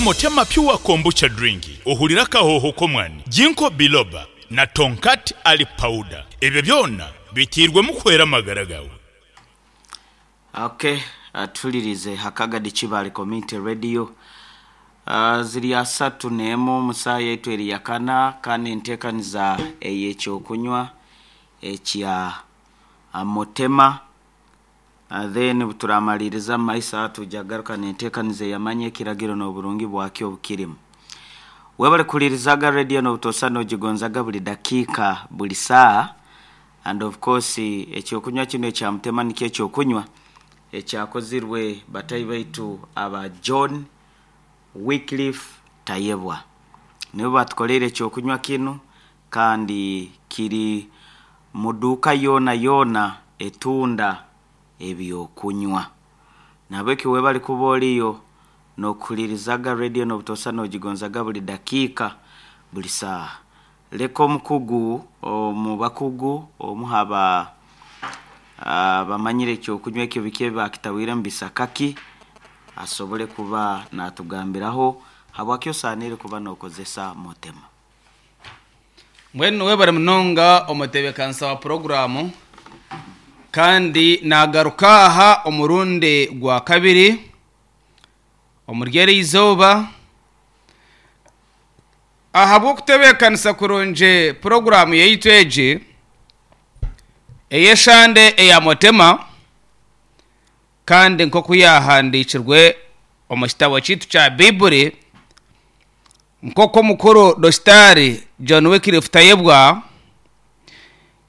Mutema Pure Kombucha Drink, ohurire akahooho k'omwani, Ginkgo Biloba na Tongkat Ali Powder. Ebyo byona biteirwemu kuhwera amagara gaawe. Ok tuhuririze Hakagadi Kibaale Community Radio ziri asatu n'emwe omu saaha yaitu eri yakana kandi enteekaniza ey'ekyokunywa ekya Mutema Then obuturamaliiriza omu maiso aha twija kugaruka n'enteekaniza ey'amanya ekiragiro n'oburungi bwakyo obukirimu. Webale kuhulirizaga radio n'obutoosa n'ogigonzaga buli dakiika buli saaha and of course ekyokunywa kinu ekya Mutema nikyo ekyokunywa ekyakozirwe batahi baitu aba John Wycliffe Tayebwa. Nibo batukoleire ekyokunywa kinu kandi kiri mu duuka yoonayoona etunda eby'okunywa. Nahabwekyo webale kuba oriyo n'okuhulirizaga rediyo n'obutoosa n'ogigonzaga buli dakiika, buli saaha. Leka omukugu omu bakugu omu ha ba abamanyire eky'okunywa ekyo biki ebi baakitahwire omu bisaka ki, asobole kuba naatugambiraho habwaki osaaniire kuba n'okozesa Mutema. Mbwenu webare munonga omutebeekanisa wa puroguraamu kandi naagaruka aha omurundi gwakabiri omuri eri izooba ahabw'okutebeekanisa kurungi puroguraamu yaitu egi ey'eshande eya Mutema kandi nk'oku yaahandiikirwe omu kitabo kyaitu kya Baiburi. Nk'oku omukuru Dositaari John Wycliffe Tayebwa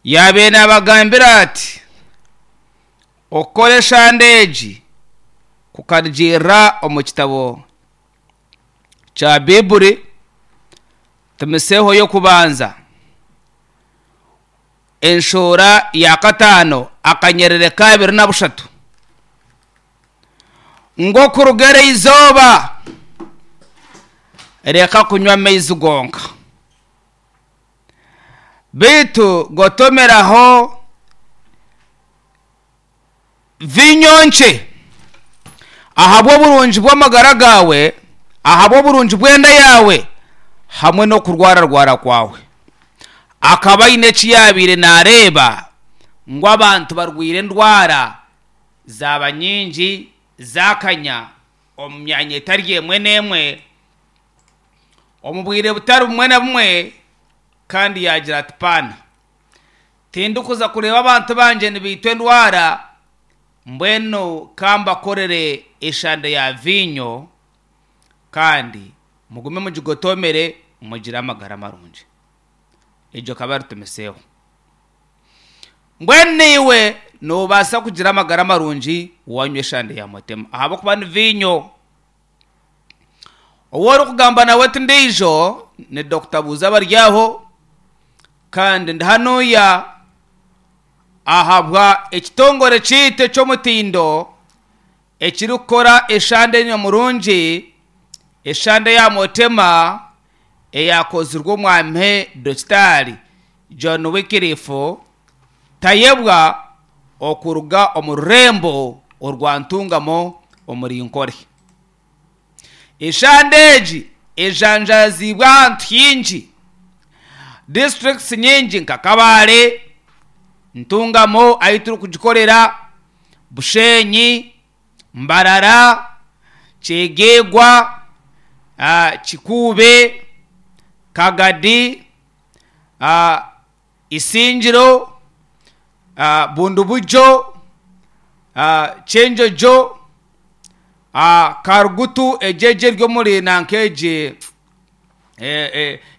yaabaire naabagambira ati, Okukora eshande egi kukarugiirira omu kitabo kya Baiburi Timoseeho y'okubanza enshoora ya kataano akanyerere k'abiri na bushatu ngu okuruga eri izooba reka kunywa amaizi gonka, beitu gotomeraho viinyo nkye ahabw'oburungi bw'amagara gaawe, ahabw'oburungi bw'enda yaawe hamwe n'okurwararwara kwawe. Akaba aine eki yaabaire naareeba ngu abantu barwaire endwara zaaba nyingi zaakanya omu myanya etari emwe n'emwe omu bwire butari bumwe na bumwe kandi yaagira ati, Paana, tindikuza kureeba abantu bangye nibaitwa endwara, mbwenu ka mbakorere eshande ya viinyo kandi mugume mugigotoomere mugire amagara marungi. Egyo ekaba eri Timoseeho. Mbwenu naiwe noobaasa kugira amagara marungi waanywa eshande ya Mutema ahabw'okuba ni viinyo. Ou orikugamba nawe ti ndiijo ni Dokita Buuza Baryaho kandi ndi hanuya ahabwa ekitongore kyaitu eky'omutindo ekirikukora eshande nyamurungi, eshande ya Mutema eyaakozirwe omwami Dokitaari John Wycliffe Tayebwa okuruga omu rurembo orwa Ntungamo omuri Nkore. Eshande egi ejanjaaziibwe ahantu haingi, disiturikiti nyingi nka Kabale, Ntungamo ahu turikugikorera, Bushenyi, Mbarara, Kyegegwa, Kikuube, Kagadi, Isingiro, Bundibugyo, Kyenjojo, Karugutu egyo egyo eri omuri nanka egi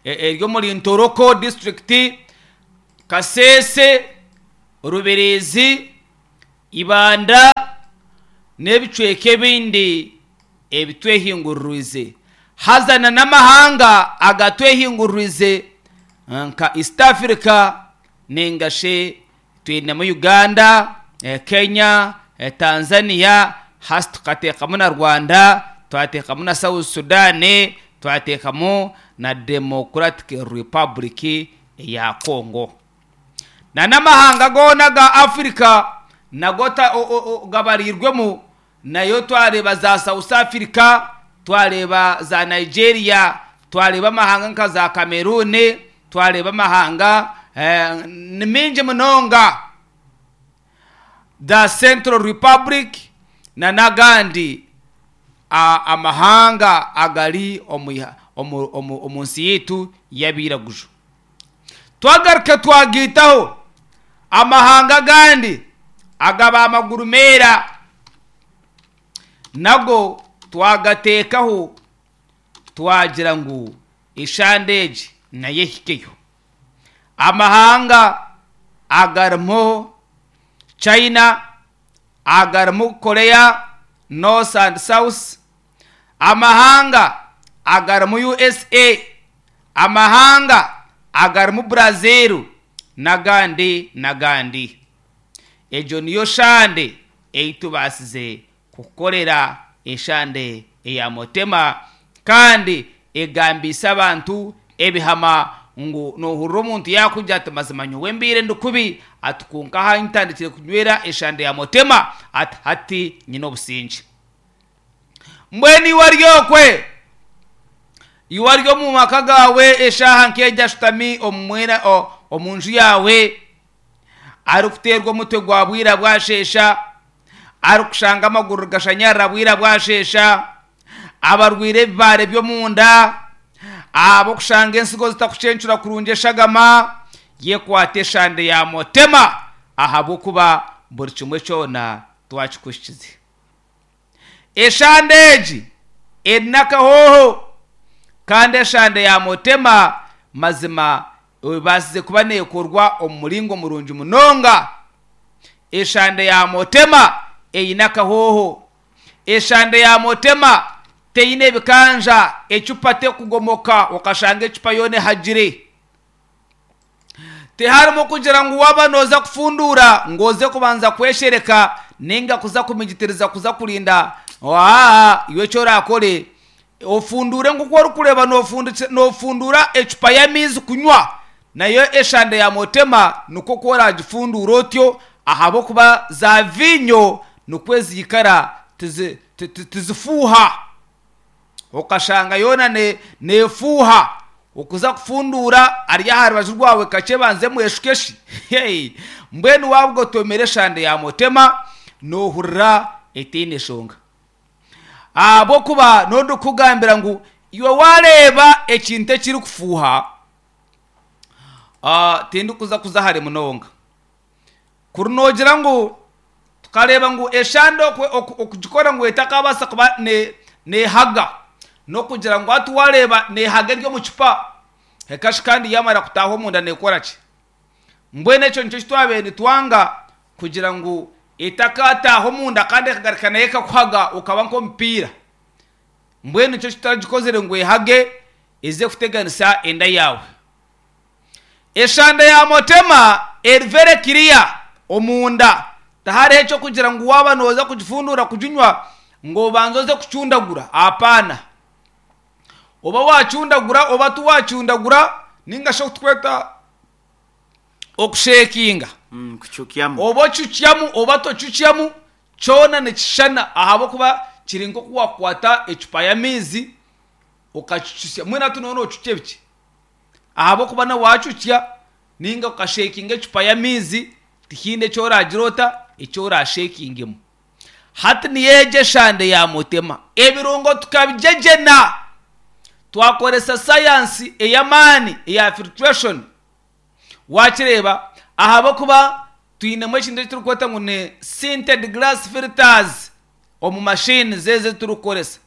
eri omuri Ntoroko disiturikiti, Kasese, Rubirizi, Ibanda n'ebicweka ebindi ebitwehinguririize. Haza na n'amahanga agatwehinguririize nka East Africa nainga shi twinemu Uganda, Kenya, Tanzania, hati tukateekamu na Rwanda, twateekamu na South Sudan, twateekamu na Democratic Republic eya Congo. Na n'amahanga goona aga Africa nago gabariirwemu, nayo twareeba za South Africa, twareeba za Nigeria, twareeba amahanga nka za Cameroon, twareeba amahanga ni maingi munonga, the Central Republic na n'agandi amahanga agari omu nsi yaitu y'abairaguju. Twagaruka twagaitaho amahanga agandi aga ba maguru meera nago twagateekaho twagira ngu eshande egi nayo ehikeyo. Amahanga agarimu China, agarimu Korea North and South, amahanga agarimu USA, amahanga agarimu Brazil n'agandi n'agandi. Egyo niyo shande ei tubaasize kukorera eshande eya Motema kandi egambiise abantu ebihama ngu noohurira omuntu yaakugira ati mazima nyowe mbaire ndi kubi ati kwonka aha ntandikire kunywera eshande ya Motema ati hati nyine obusingye. Mbwenu iwe ori okwe, iwe ori omu maka gaawe eshaaha nk'egi ashutami omu nju yaawe arikuteerwa omutwe gwa bwira bwasheesha, arikushanga amaguru gashanyarara bwira bwasheesha, abarwaire ebibaare by'omunda, ab'okushanga ensigo zitakucencura kurungi eshagama, yekwate eshande ya Motema ahabw'okuba buri kimwe kyona twakikuhikize. Eshande egi eri n'akahooho kandi eshande ya Motema mazima ebaasize kuba neekorwa omu muringo murungi munonga. Eshande ya Motema eine akahooho. Eshande ya Motema teine bikanja, ecupa tekugomoka okashanga ecupa yoona ehagire. Tiharimu kugira ngu waaba nooza kufunduura ngu oze kubanza kweshereka nainga kuza kumigitiriza kuza kurinda aa iwe eki oraakore ofunduure nk'oku orikureeba noofunduura ecupa y'amaizi kunywa nayo eshande ya Motema nikwo oku oraagifunduure otyo ahabw'okuba za viinyo nikwo ziikara tizifuuha. Okashanga yoona neefuuha, okuza kufunduura ari aha rubaju rwawe kakye ebanze emweshuke shi. Mbwenu waaba ogotomire eshande ya Motema noohurira etaine nshonga. Ahabw'okuba n'ondikukugambira ngu iwe waareeba ekintu ekirikufuuha, tindikuza kuza hare munonga. Kuri noogira ngu tukareeba ngu eshande okugikora ngu etakabaasa kuba neehaga, n'okugira ngu hati waareeba neehaga eri omu cupa, ekashi kandi yaamara kutaaha omunda neekora ki? Mbwenu ekyo nikyo eki twabaire nitwanga kugira ngu etakataaha omunda kandi ekagaruka nayo ekakuhaga okaba nk'omupiira. Mbwenu nikyo eki tutagikozire ngu ehage eze kuteganisa enda yaawe. Eshanda ya Motema eri very clear omunda tihariho eky'okugira ngu waaba nooza kugifunduura kuginywa ngu obanze oze kucundagura apana. Oba waacundagura oba tiwaacundagura nainga shi oku turikweta okusheekinga Kucukyamu. oba ocucyamu oba tocucyamu kyona nikishushana ahabw'okuba kiri nk'oku waakukwata ecupa y'amaizi okacucusya mbwenu hati nooba noocucya ebiki? Ahabw'okuba na waacucya nainga okasheekinga ecupa y'amaizi tihaine eki oraagira ota eki oraasheekingemu. Hati niyo egyo eshande ya Mutema. Ebirungo tukabigyegyena twakoresa sayansi ey'amaani eya filtration. Waakireeba? Ahabw'okuba twinemu ekintu eki turikweta ngu ni sinted glass filters omu machines ezi ezi turikukoresa.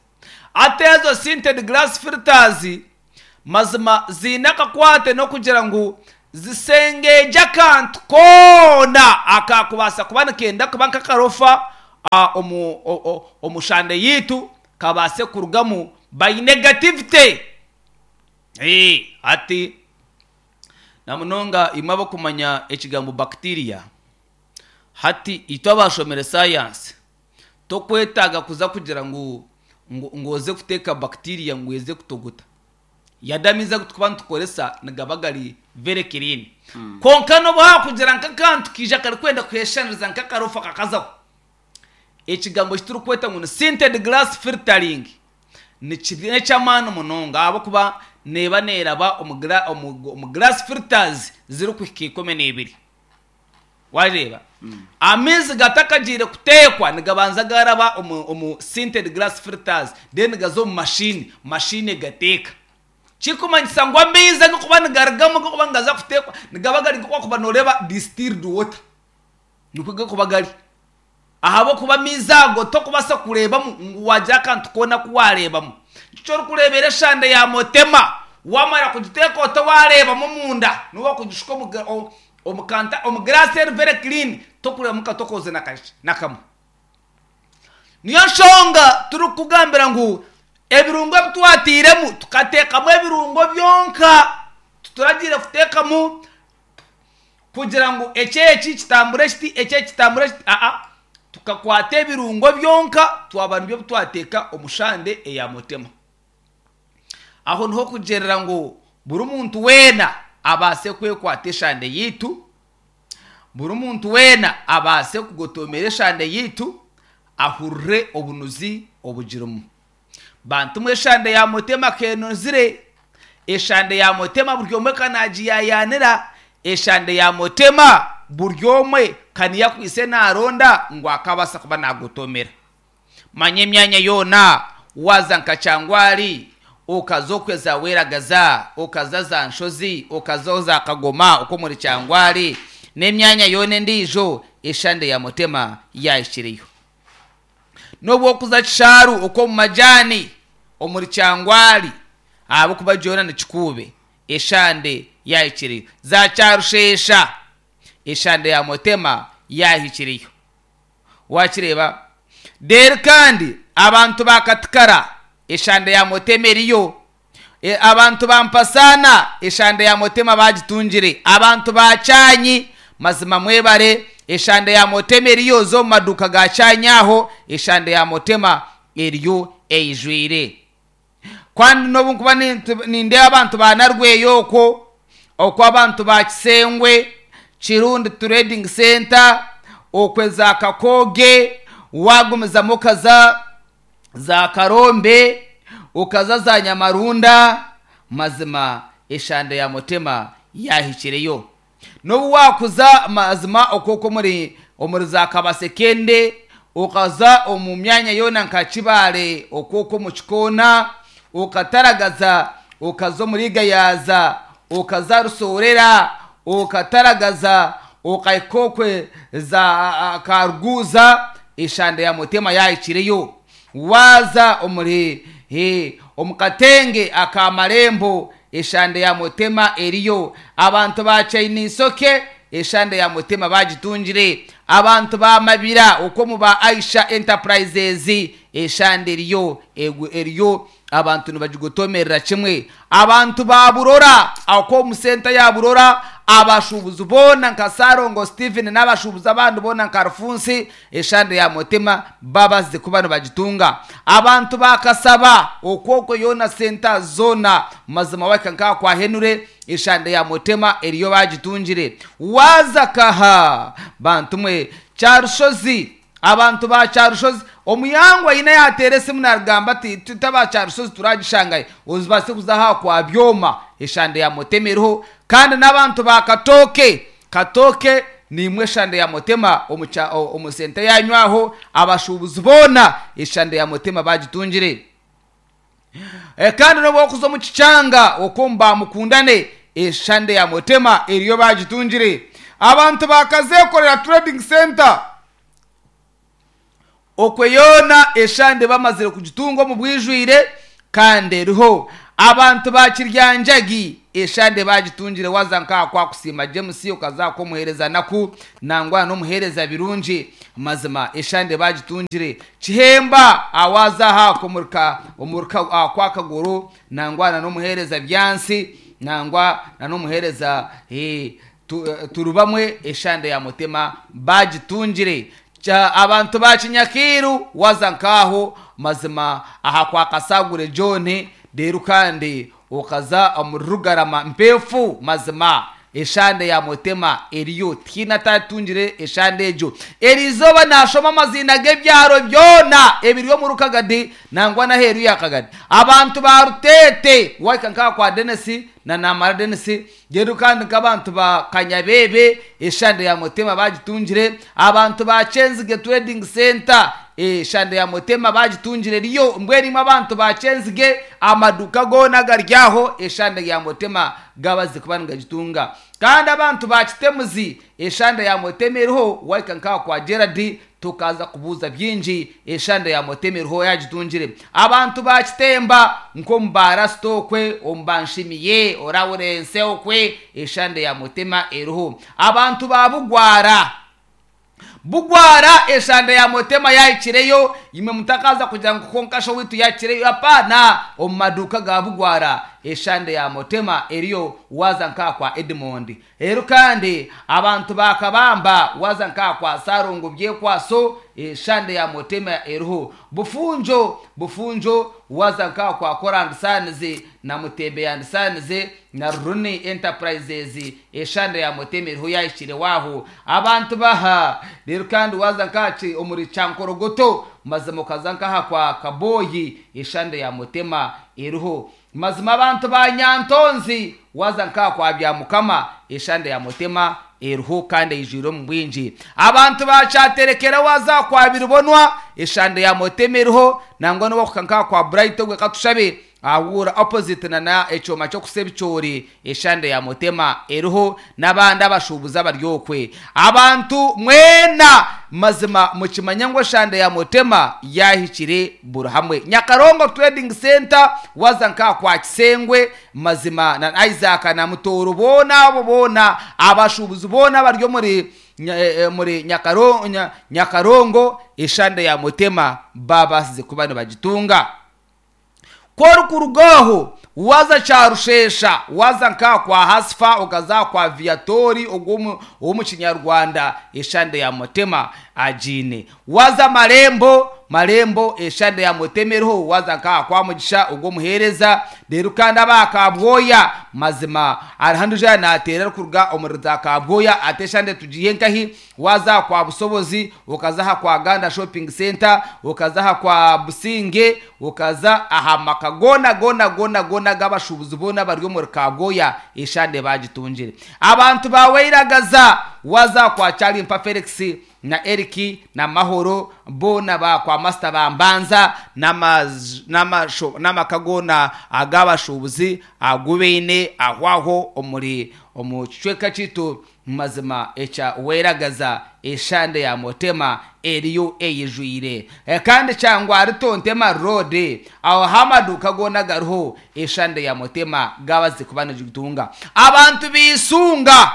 Hati ezo sinted glass filters mazima ziine akakwate n'okugira ngu zisengyeegye akantu koona akaakubaasa kuba nikenda kuba nk'akarofa omu omu shande yaitu kabaase kurugamu by negativity. Hati na munonga imwe abarikumanya ekigambo bacteria, hati itwe abaashomire sayansi tokwetaaga kuza kugira ngu ngu oze kuteeka bacteria ngu eze kutogota. Yade amaizi agu turikuba nitukoresa nigaba gari very clean. Kwonka n'obu haakugira nk'akantu kaija karikwenda kweshaniriza nk'akarofa kakazaho, ekigambo eki turikweta ngu ni sinted glass filtering. Nikiri n'eky'amaani munonga ahabw'okuba neeba neeraba omu gira omu omu glass filters zirikuhika 12. Waareeba? Amaizi gatakagiire kuteekwa nigabanza gaaraba omu omu sinted glass filters then gaza omu mashini, mashini egateeka. Kirikumanyisa ngu amaizi agarikuba nigarugamu agarikuba nigaza kuteekwa nigaba gari nk'oku wakuba nooreeba distilled water. Nikwo garikuba gari. Ahabw'okuba amaizi ago tokubaasa kureebamu ngu waagira akantu koona aku waareebamu. Nikyo orikureebera eshande ya motema, waamara kugiteeka ota waareebamu omunda, n'obu waakugishuka omu omu kanta omu giraasi eri very clean, tokureebamu katokoozi na kakye na kamwe. Niyo nshonga turikukugambira ngu ebirungo ebi twatairemu tukateekamu ebirungo byonka, tituragiire kuteekamu kugira ngu eki eki kitambure kiti, eki eki kitambure kiti, aa, tukakwata ebirungo byonka twaba nibyo bitwateeka omu shande eya mutema. Aho niho kugyerera ngu buri muntu weena abaase kwekwata eshande yaitu, buri muntu weena abaase kugotomera eshande yaitu, ahurire obunuzi obugirimu. Bantu mwe eshande ya Mutema kenozire, eshande ya Mutema buri omwe kanagiyayanira, eshande ya Mutema buri omwe kaniyo akwaitse naronda ngu akabaasa kuba nagotomera. Manya emyanya yoona waaza nka Kyangwari, okaza okwe za Weragaza, okaza za Nshozi, okaza za Kagoma okwo omuri Kyangwari n'emyanya yoona endiijo eshande ya Mutema yahikireyo. N'obu orikuza Kishaaru okw'omu majaani omuri Kyangwari ahabw'okuba gyona ni Kikuube, eshande yaahikireyo. Za Kyarusheesha, eshande ya Mutema yaahikireyo. Waakireeba? Reero kandi abantu ba Katikara, eshande ya Mutema eriyo. Abantu ba Mpasaana eshande ya Mutema bagitungire. Abantu ba Kyanyi mazima mwebare eshande ya Mutema eriyo oze omu maduuka ga Kyanyi aho eshande ya Mutema eriyo eijwire. Kandi n'obu nkuba nindeeba abantu ba Narweyo okwo, okwo abantu ba Kisengwe, Kirundi Trading Centre, okwe za Kakooge, waagumizamu okaza za Karombe, okaza za Nyamarunda, mazima eshande ya Mutema yaahikireyo. N'obu waakuza mazima okwo okwo omuri omuri za Kabasekende, okaza omu myanya yoona nka Kibaale okwo okwo omu Kikoona, okataragaza okaza omuri Gayaza, okaza Rusoorera, okataragaza okahika okwe za Karuguuza, eshande ya Mutema yaahikireyo. Waaza omuri omu katenge aka Marembo, eshande ya Mutema eriyo. Abantu ba Chainisoke, eshande ya Mutema baagitungire. Abantu ba Mabira okwo omu ba Aisha Enterprises, eshande eriyo eriyo abantu nibagigotomerera kimwe. Abantu ba Burora okwo omu senta ya Burora, abashuubuzi boona nka Ssalongo Steven n'abashuubuzi abandi boona nka Rufunsi, eshande ya Mutima babazize kuba nibagitunga. Abantu ba Kasaba okwo okwo yoona senta zoona mazima wahika nk'aha kwa Henry, eshande ya Mutima eriyo bagitungire. Waaza kaha bantu mwe Kyarushozi, Abantu ba Kyarushozi, omuyangwa aine yaateera esimu naagamba ati, Itwe aba Kyarushozi turagishangayo, ozibaase kuza aha kwa Byoma, eshande ya Mutema eriho. Kandi n'abantu ba Katooke, Katooke niimwe eshande ya Mutema omu kya omu senta yaanyu aho, abashuubuzi boona eshande ya Mutema baagitungire. Kandi n'obu orikuza omu kikyanga okwo omu ba Mukundane, eshande ya Mutema eriyo baagitungire. Abantu ba Kazeekorera Trading Centre, Okwe yoona eshande bamazire kugitunga omu bwijwire kandi eriho. Abantu ba Kiryanjagi eshande bagitungire waza nka aha kwa Kusiima James okaza aha kw'omuheereza Naku nangwa n'omuheereza Birungi mazima eshande bagitungire. Kihemba aha waza aha kw'omuri omuri aha kwa Kagoro nangwa na n'omuheereza Byansi nangwa na n'omuheereza Turubamwe eshande ya Mutema bagitungire. Kya abantu ba Kinyakiiru waza nk'aho mazima aha kwa Kasagure John reero kandi okaza omuri Rugarama Mpeefu mazima Eshande ya Motema eriyo, tihaine atatungire eshande egyo. Eriizooba naashoma amaziina g'ebyaro byona ebiri omuri Kagadi nangwa n'aheeru ya Kagadi. Abantu ba Ruteete, waahika nk'aha kwa Denis na Namara Denis, reero kandi nk'abantu ba Kanyabeebe, eshande ya Motema baagitungire. Abantu ba Kyenzige Trading Centre, eshande ya Motema baagitungire eriyo. Mbwenu imwe abantu ba Kyenzige, amaduuka goona agari aho, eshande ya Motema gabazize kuba nigagitunga. Kandi abantu ba Kitemuzi, eshande ya Motema eriho, wahika nkaha kwa Gerard tokaza kubuuza bingi, eshande ya Motema eriho yagitungire. Abantu ba Kitemba nk'omu ba Rasita okwe, omu ba Nshimiye, Orawurense okwe, eshande ya Motema eriho. Abantu ba Bugwara, Bugwara eshanda ya Motema yahikireyo, imwe mutakaza kugira ngu kwonka shi owaitu yahikireyo, hapana, omu maduuka ga Bugwara eshanda ya Motema eriyo waaza nkaha kwa Edmond. Reero kandi abantu ba Kabamba waaza nkaha kwa Sarongo Byekwaso eshanda ya Motema eriho. Bufunjo, Bufunjo waaza nkaha kwa Kora and Sons na Mutembe and Sons na Ruruni Enterprises eshanda ya Motema eriho yahikire waaho. Abantu baha reero kandi waaza nkaha omuri Kyankorogoto mazima okaza nkaha kwa Kaboyi eshanda ya Motema eriho. Mazima abantu ba Nyantonzi waaza nkaha kwa Byamukama eshanda ya Motema eriho kandi eijwire omu bwingi. Abantu ba Kyaterekera waaza kwa Biribonwa eshanda ya Motema eriho nangwa n'owakuhika nkaha kwa Bright ogwe katushabe ahuura opposite na na ekyoma ky'okusa ebicoori eshande ya Motema eriho n'abandi abashuubuzi abari okwe. Abantu mwena mazima mukimanye ngu eshande ya Motema yaahikire buri hamwe. Nyakarongo Trading Centre waaza nka kwa Kisengwe mazima na Isaac na Mutooro boona abo boona abashuubuzi boona abari omuri omuri Nyakarongo eshande ya Motema baabaasize kuba nibagitunga. Ku orikuruga aho waaza Kyarusheesha, waaza nka kwa Hasifa, okaza kwa Viatori ogwo ow'omu Kinyarwanda eshande ya Motema agiine. Waaza Marembo, Marembo eshande ya Motema eriho, waaza nka kwa Mugisha ogwo omuheereza. Reero kandi aba Kabwoya mazima hariho ondiijo yaaba naateera arikuruga omuri za Kabwoya ati eshande tugiihe nkahi? Waaza aha kwa Busobozi, okaza aha kwa Ganda Shopping Centre, okaza aha kwa Businge, okaza aha maka goona goona goona goona ag'abashuubuzi boona abari omuri Kabwoya, eshande baagitungire. Abantu ba Wairagaza, waaza aha kwa Kyarimpa Felix na Eric na Mahoro, boona ba kwa Master ba Mbanza n'amaka goona ag'abashuubuzi agu baine aho aho omuri omu kicweka kyaitu Mazima ekya Weragaza eshande ya Motema eriyo eyijwire kandi Kyangwari Tontema Road aho ahu amaduuka goona gariho eshande ya Motema gabazize kuba nigitunga abantu ba Isunga.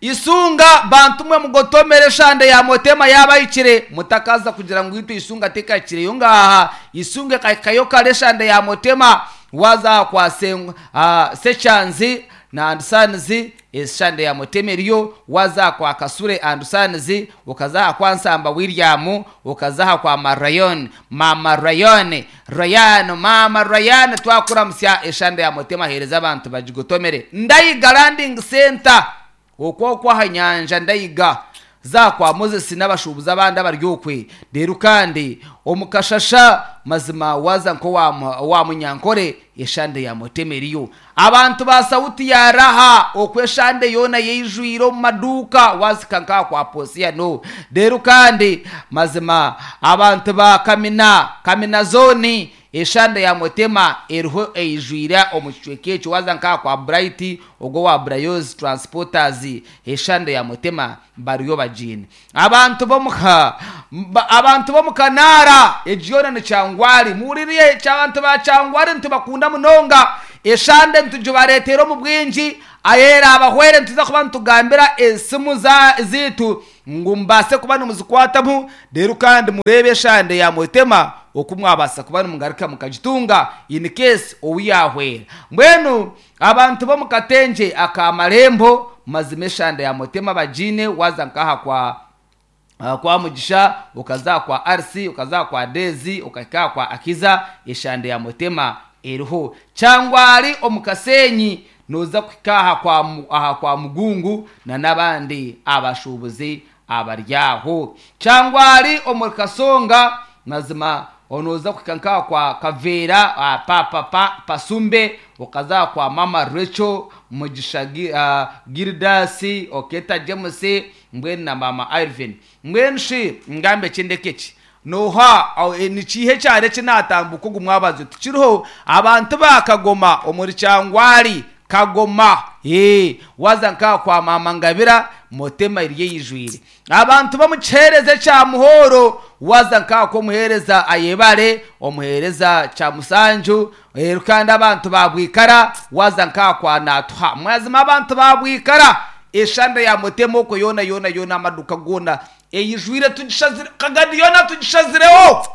Isunga bantu mwe mugotomere eshande ya Motema yaaba ehikire mutakaza kugira ngu itwe Isunga tekahikireyo ngaha Isunga ekahikayo kare eshande ya Motema waaza aha kwa Sekyanzi na and Sons eshande ya Motema eriyo, waaza aha kwa Kasure and Sons, okaza aha kwa Nsamba William, okaza aha kwa Marayon, Mama Rayon, Rayan, Mama Rayan twakuramutsya eshande ya Motema heereza abantu bagigotomere. Ndayiga Landing Centre okwo okwo aha nyanja Ndayiga za kwa Moses n'abashuubuzi abandi abari okwe. Reero kandi omu kashasha mazima waaza nk'owa owa Munyankore eshande ya Motema eriyo. Abantu ba Sauti ya Raha okwo eshande yoona yeijwire omu maduuka waazihika nk'aha kwa Posiano. Reero kandi mazima abantu ba Kamina, Kamina zooni Eshanda ya Motema eriho eijwire omu kicweka ekyo waaza nka aha kwa Bright ogwo owa Brayoz Transporters eshanda ya Motema bariyo bagiine. Abantu b'omu abantu b'omu Kanaara egi yoona ni Kyangwali muhurire abantu ba Kyangwali nitubakunda munonga eshanda nitugibareetera omu bwingi Ahu eraabahwere nituza kuba nitugambira esimu zaitu ngu mubaase kuba nimuzikwatamu reero kandi mureebe eshande ya Mwetema oku mwabaasa kuba nimugaruka mukagitunga in case ou yaahwera. Mbwenu abantu b'omu katengye aka Marembo mazima eshande ya Mwetema bagiine waaza nk'aha kwa kwa Mugisha, okaza aha kwa Alice, okaza aha kwa Daisy, okahika aha kwa Akiza, eshande ya Mutema eriho. Kyangwari omu Kasenyi Nooza kuhika aha kwa, aha kwa Mugungu na n'abandi abashuubuzi abari aho. Kyangwari omuri Kasonga, mazima nooza kuhika nk'aha kwa Kaveera, ah, pa, pa, pa, Pasumbe, okaza aha kwa Mama Rachel, Mugisha Gi, ah, Gildasi, Oketa James, mbwenu na Mama Irvin. Mbwenu shi ngambe ki ndeke ki? Nooha, ni kiiha ekyaro eki naatambuka ogu mwabazyo? Tikiriho. Abantu ba Kagoma omuri Kyangwari, Kagoma, ee, waaza nk'aha kwa Maama Ngabira, Motema eriyo eijwire. Abantu b'omu kiheereza ekya Muhooro, waaza nk'aha kw'omuheereza Ayebare, omuheereza Kyamusanju, reero kandi abantu ba Bwikara, waaza nk'aha kwa Naatuha. Mazima abantu ba Bwikara, eshanda ya Motema okwo yoona yoona yoona, amaduuka goona Eijwire tugishazire, Kagadi yoona tugishazireho.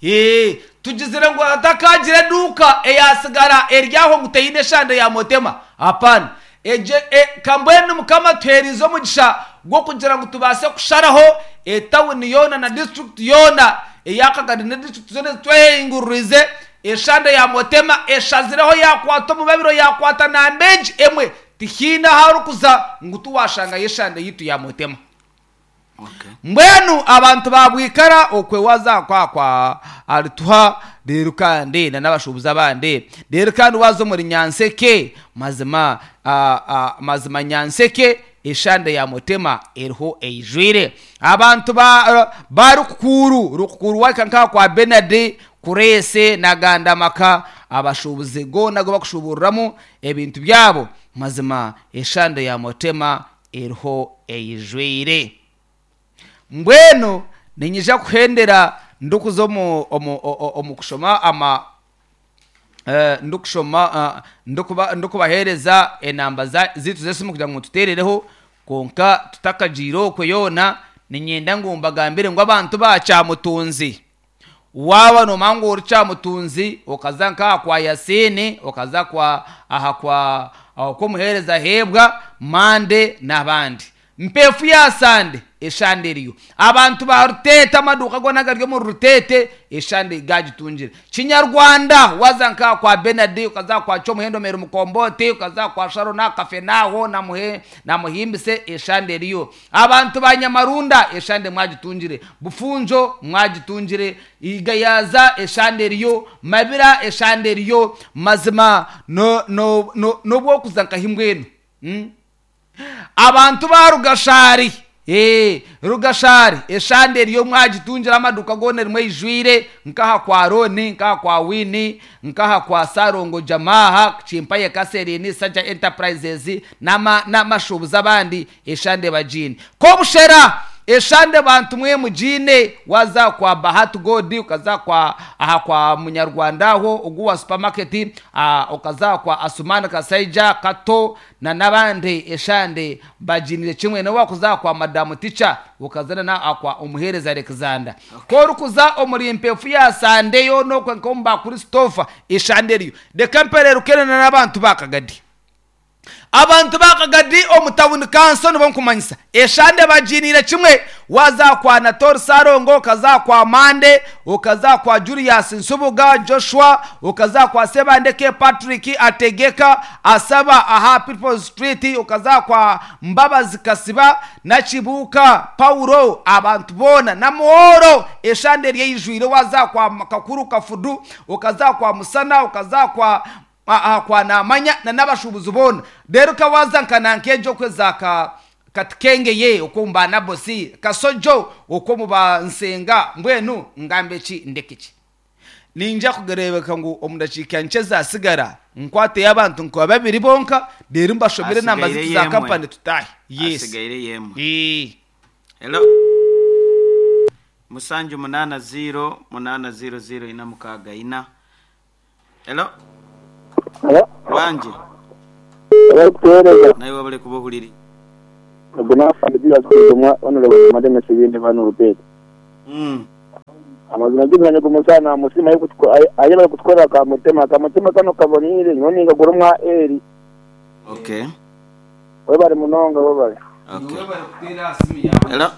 Ee, tugizire ngu hatakaagira eduuka eyaatsigara eri aho ngu teine eshande ya Motema. Hapana. Egyo, e, ka mbwenu Mukama atuheereize omugisha gw'okugira ngu tubaase kusharaho etawuni yoona na disiturikiti yoona eya Kagadi n'edisiturikiti zoona ezitwehinguririize, eshande ya Motema eshazireho yaakwata omubabiro yaakwata namba egi emwe. Tihaine ahu arikuza ngu tiwaashangayo eshande yaitu ya Motema. Mbwenu abantu ba Bwikara okwe waza kwa kwa Alituha reero kandi na n'abashuubuzi abandi. Reero kandi waza omuri Nyanseke mazima mazima Nyanseke eshande ya Mutema eriho eijwire. Abantu ba ba Rukukuuru, Rukukuuru wahika nkaha kwa Benard, Kureese na Gandamaka abashuubuzi goona agu bakushuuburiramu ebintu byabo mazima eshande ya Mutema eriho eijwire. Mbwenu niinyija kuhendera ndikuza omu, omu, omu kushoma ama eh, ndikushoma ah, ndikuba, ndikubaheereza enamba za, zaitu z'esimu kugira ngu mututeerereho, kwonka tutakagiire okwo yoona, niinyenda ngu mbagambire ngu abantu ba Kyamutunzi, Waaba noomanya ngu ori kyamutunzi, okaza nk'aha kwa Yasiini, okaza kwa aha kwa okw'omuheereza Heebwa, Mande n'abandi. Mpeefu ya Sande, eshande eriyo. Abantu ba Ruteete, amaduuka goona agari omuri Ruteete, eshande gaagitungire. Kinyarwanda, waaza nk'aha kwa Benard, okaza aha kwa Kyomuhendo Mary Mukombooti, okaza aha kwa Sharon aha Kafenaaho na Muhe na Muhimbise, eshande eriyo. Abantu ba Nyamarunda eshande mwagitungire, Bufunjo mwagitungire, Igayaza eshande eriyo, Mabira eshande eriyo, mazima no no no n'obu orikuza nkahi mbwenu? Umm. Abantu ba Rugashari, ee, Rugashari eshande eriyo mwagitungire amaduuka goona erimu eijwire, nk'aha kwa Rooni, nk'aha kwa Winnie, Nk'aha kwa Ssalongo Jamaha, Kimpaye Catherine, Sajja Enterprises n'amashuubuzi abandi eshande bagiine. Kobushera eshande bantu mwe mugiine waaza kwa Bahati God okaza kwa aha kwa Munyarwanda aho ogu wa supermarket okaza kwa Asuman Kasaija Kato na n'abandi eshande bagiinire kimwe. N'obu waakuza aha kwa Madamu Ticha okaza na aha kwa Omuheereza Alexander. Ku orikuza omuri mpeefu ya Sande yoona okwe nk'omu ba Christopher, eshande eriyo. Reka mpereerukene na n'abantu ba Kagadi. Abantu ba Kagadi omu tawuni kanso nibo nkumanyisa. Eshande bagiiniire kimwe. Waaza aha kwa Anatole Ssalongo, okaza aha kwa Mande, okaza aha kwa Julius Nsubuga, Joshua, okaza aha kwa Sebandeke Patrick Ategeka, Asaba aha People's Street, okaza aha kwa Mbabazi Kasiba na Kibuuka Paulo, abantu boona na Muhooro eshande eri eijwire. Waaza aha kwa Kakuru Kafudu, okaza aha kwa Musana, okaza aha kwa aha kwa Namanya na n'abashuubuzi boona. Reero ka waaza nka nanka egyo okwo eza ka Katikengeye okwo omu ba Nabosi, Kasojo okwo omu ba Nsenga, mbwenu ngambe ki ndeke ki? Niinyija kureebeka ngu omu dakiika nkye ezaatsigara nkwateyo abantu nka babiri bonka reero mbashomere enamba Asigaire zaitu za yemwe. kampani tutaahe. Yes. Asigaire yemwe. Ee. Hello. Musanju munaana ziiro munaana ziiro ziiro ina mukaaga ina. Hello. Hello. Wangi. Abarikutuheereza. Naiwe webale kuba ohuririize. Ogu n'afande Julius Kigumwa Honourable Madame Sibindi Van Rupert. Amazima g'omwanya ogu Musa namusiima ayebare kutukorera ka mutima. Ka mutima kanu kaboniire nyowe ningagura omwa Eli. Okay. Webare munonga webare. Okay. Webare kuteera aha simu yaawe. Hello.